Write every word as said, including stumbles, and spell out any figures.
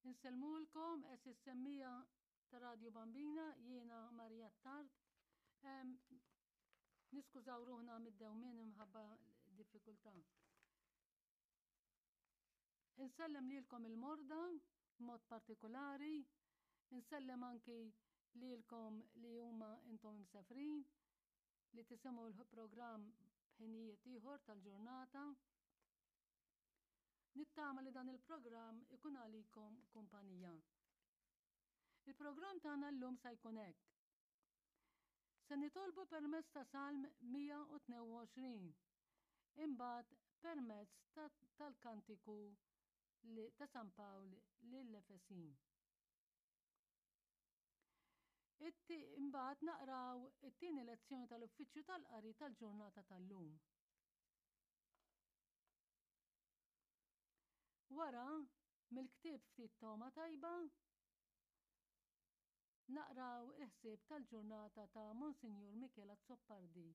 Insellmulkom għeżież semmiegħa ta' Radio Bambina, jiena Maria Attard. Niskużaw ruħna mid-dewmien imħabba diffikultà. Insellem lilkom il-morda, mod partikolari, insellem anki lilkom li huma intom imsefrin, li tisimgħu l-programm b'ħinijiet ieħor tal-ġurnata. Nittama li dan il-programm ikun għalikom kumpanija. Il-programm tagħna llum sa jkun hekk. Se nitolbu permezz ta' Salm mija u tnejn u għoxrin, imbagħad permezz tal-kantiku ta' San Pawl lill-Efesin. Imbagħad naqraw it-tieni lezzjoni tal-Uffiċċju tal-Qari tal-ġurnata tal-lum. Wara, mill-ktieb Ftit Togħma Tajba, naqraw il-ħsieb tal-ġurnata ta' Monsinjur Michel Azzopardi.